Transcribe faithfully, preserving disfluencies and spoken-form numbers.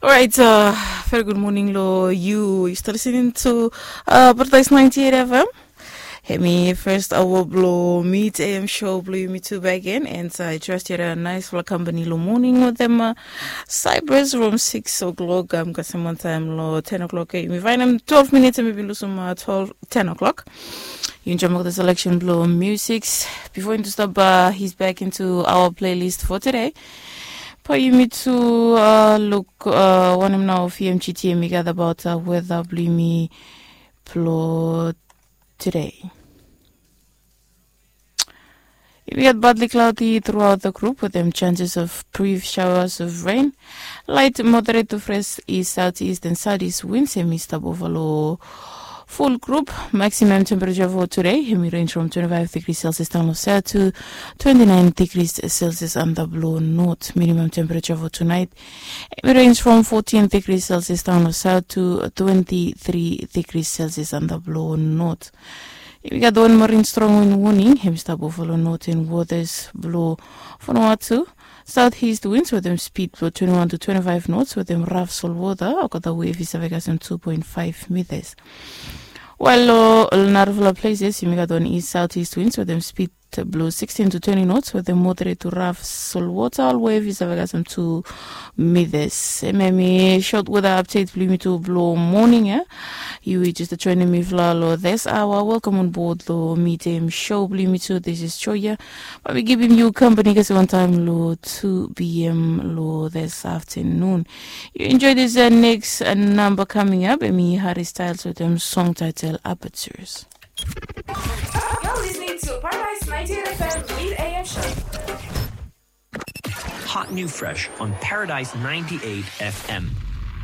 Orait, very good morning lo yu. Yu stap listening to Paradise ninety-eight F M. Hemi first hour blo Mid A M show blo yumi tu back again, and I trust yu had a nice fala company lo morning wetem Cyprus from six o'clock. Am kasem wan taem lo ten o'clock. Yumi vaenem twelve minutes, and mi bin lusum twelve ten o'clock. Yu enjoy the selection blo music. Before into stop, he's back into our playlist for today. Bae yumi tu luk wanem nao V M G T hemi gat about weather blo yumi blo today. Yumi gat partly cloudy throughout the group wetem chances of brief showers of rain. Light moderate to fresh east southeast and southeast winds hemi stap ova lo full group. Maximum temperature for today hemi range from twenty-five degrees Celsius down lo south to twenty-nine degrees Celsius antap lo north. Minimum temperature for tonight hemi range from fourteen degrees Celsius down lo south to twenty-three degrees Celsius antap lo north. Yumi gat wan marine strong wind warning hemi stap ova lo northern waters blo Vanuatu. Southeast winds wetem speed blo twenty-one to twenty-five knots wetem rough salt water, olgeta wave i save kasem two point five meters. While lo narafala places yumi gat wan east southeast winds wetem speed blo sixteen to twenty knots wetem moderate to rough salt water, ol wave i save kasem two meters. Hemia hemi short weather update blo yumi tu blo morning ia. Yu i just joining mifala lo this hour, welcome on board lo Mid A M show blo yumi tu. This is Joya. Bae mi givim yu company kasem wan taem lo two P M lo this afternoon. Yu enjoy this next number coming up, hemi Harry Styles wetem song title Apertures. You're listening to Paradise ninety-eight F M Mid A M show. Hot new fresh on Paradise ninety-eight F M.